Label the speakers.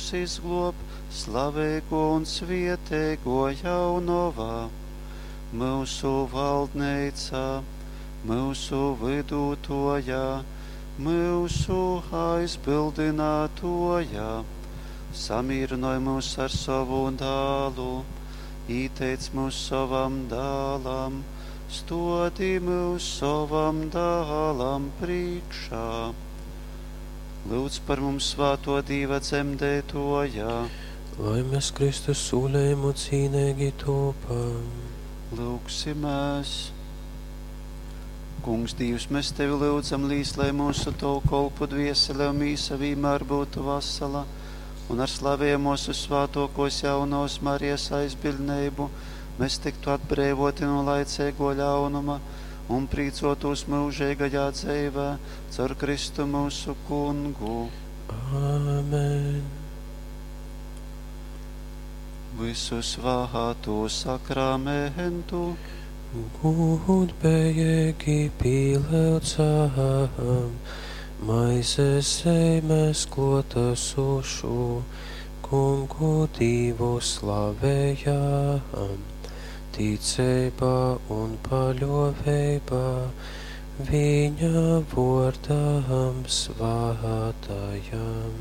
Speaker 1: myusus izgluob, slaveiguo un svieteiguo jaunova, myusu valdneica, myusu vydutuoja, myusu aizbildinātuoja. Samīrynoj myus ar sovu dālu, īteic myus sovam dālam, stuodi myus sovam dālam prīškā. Lūdz par mums svāto Dīva dzemdētoja.
Speaker 2: Lai mēs Kristus sūlējumu cīnīgi topam.
Speaker 1: Lūgsimies! Kungs, Dīvs, mēs Tevi lūdzam, līs, lai mūsu Tavu kolpu dviesele un mīsa vienmēr būtu vasala, un ar slavējamos uz svātokos jaunos Marijas aizbildnību mēs tiktu atbrīvoti no laicīgo ļaunuma un prīcotos mūžīgajā dzīvē caur Kristu mūsu kungu.
Speaker 2: Āmen.
Speaker 1: Visu svātu sakramentu.
Speaker 2: Gudbējīgi pīlēcām, maizes zeimes klotasušu, kungu Dīvu slavējām, ticībā un paļoveibā, viņa vārdam svātajam.